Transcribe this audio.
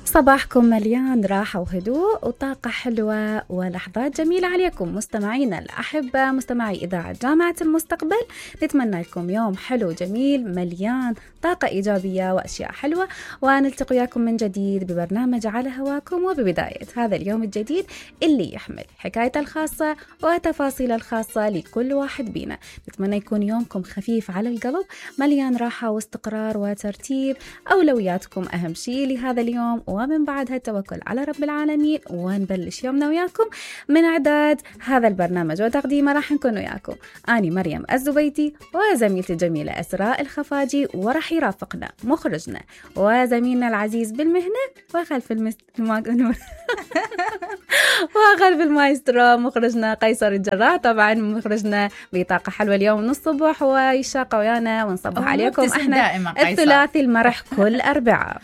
صباحكم مليان راحة وهدوء وطاقة حلوة ولحظات جميلة عليكم مستمعينا الأحبة، مستمعي إذاعة جامعة المستقبل. نتمنى لكم يوم حلو جميل مليان طاقة إيجابية وأشياء حلوة، ونلتقي وياكم من جديد ببرنامج على هواكم، وببداية هذا اليوم الجديد اللي يحمل حكايته الخاصة وتفاصيل الخاصة لكل واحد بينا. نتمنى يكون يومكم خفيف على القلب، مليان راحة واستقرار وترتيب. أولوياتكم أهم شيء لهذا اليوم، ومن بعدها التوكل على رب العالمين، ونبلش يومنا وياكم. من إعداد هذا البرنامج وتقديمه راح نكون وياكم أنا مريم الزبيتي وزميلتي الجميلة أسراء الخفاجي، ورح يرافقنا مخرجنا وزميلنا العزيز بالمهنة وخلف وخلف المايسترو مخرجنا قيصر الجراح. طبعا مخرجنا بطاقة حلوة اليوم من الصبح ويشاق ويانا ونصبح عليكم احنا الثلاثي المرح كل أربعاء.